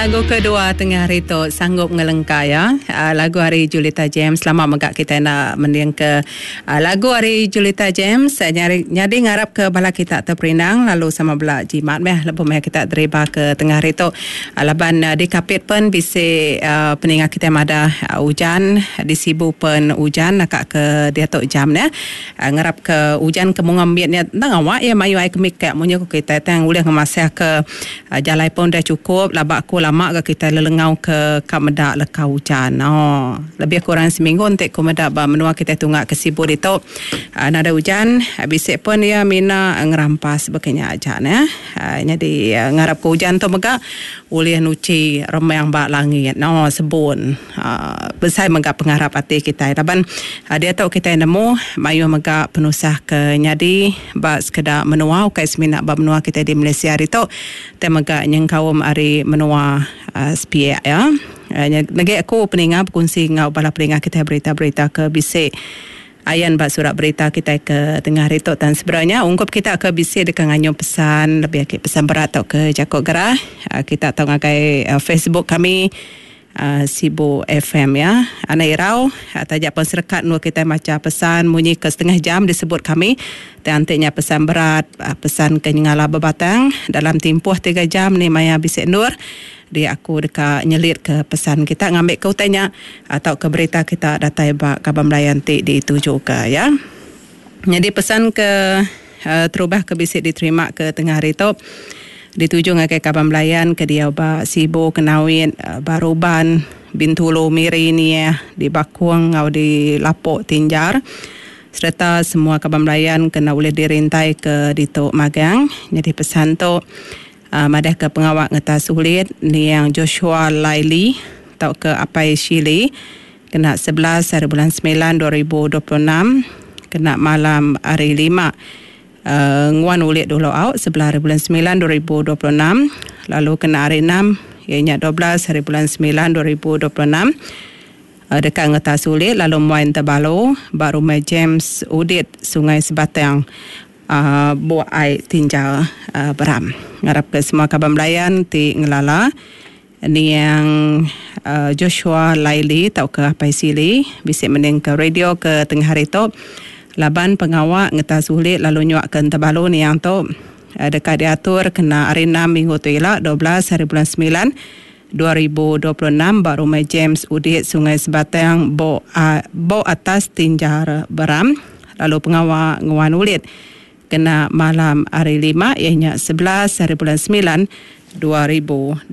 Lagu kedua tengah hari tu sanggup ngelengka ya. Lagu ari Julita James lama mega kitai enda mending ke lagu ari Julita James nyadi ngarap ke bala kita teperindang lalu sama bela jimat meh lebuh meh kita deriba ke tengah hari tu laban di Kapit pen bisi peninga kitai madah ujan di Sibu pen ujan naka ke diatu jam neh. Ngarap ke ujan ke munga mit nya enda ngawa iya mayuh ai ke mikak munyi ku kitai tang ulih ngemasah ke jalai pun udah chukup laba aku lama ga kitai lelengau ke ka meda leka ujan ooh lebih kurang seminggu enti ku meda ba menua kitai tunga ke Sibu ditu nadai ujan bisi pun iya mina ngerampas baka nya aja neh. Nyadi ngarap ke ujan tu mega ulih nuchi remang ba langit ooh sebun. Besai mega pengarap ati kitai laban diatu kitai nemu mayuh mega penusah ke nyadi ba sekeda menua ukai semina ba menua kitai di Malaysia ditu tang mega nyengkaum ari menua sepiak iya. Negi aku peninga bekunsi enggau bala peninga kitai berita-berita ke bisi ayan ba surat berita kitai ke tengah hari tu tang sebedau nya ungkup kita ke bisi deka nganyung pesan lebih agi pesan berat tauka jaku gerah kita tau ngagai Facebook kami. Sibu FM ya. Anak irau, taja pen serekat endur kitai macha pesan munyi ke setengah jam disebut kami tang enti nya pesan berat, pesan ke nyengala bebatang dalam timpuh tiga jam ni maya bisi endur dia aku deka nyelit ke pesan kita ngambi ke utai nya tauka berita kita datai ba kaban belayan ti dituju ke ya. Nyadi pesan ke terubah ke bisi diterima ke tengah hari tu dituju ngagai kaban belayan ke diau ba Sibu, Kenawit, Baruban, Bintulu, Miri, Niah, di Bakong enggau di Lapok Tinjar sereta semua kaban belayan ke enda ulih dirintai ke ditu magang. Nyadi pesan tu madahka pengawa ngetas ulit niang Joshua Laili tauka Apai Shili kena 11 hari bulan semilan 2026 kena malam hari lima nguan ulit dulu au sebelah hari bulan semilan 2026 lalu kena hari enam iya nya 12 hari bulan semilan 2026 deka ngetas ulit lalu muai entabalu ba Rumah James Udit Sungai Sebatang Buk ai tinjal Beram. Ngarapka semua kaban belayan ti ngelala niang Joshua Laili tauka Apai Sili bisi mendingka radio ke tengah hari tu laban pengawa ngetas ulit lalu nyuakka entabalu niang tu deka diatur kena hari enam minggu tu ila 12 hari bulan semilan 2026 ba Rumah James Udit Sungai Sebatang Bok Bok Atas Tinjar Beram lalu pengawa nguan ulit kena malam hari lima iya nya 11 hari bulan semilan 2026.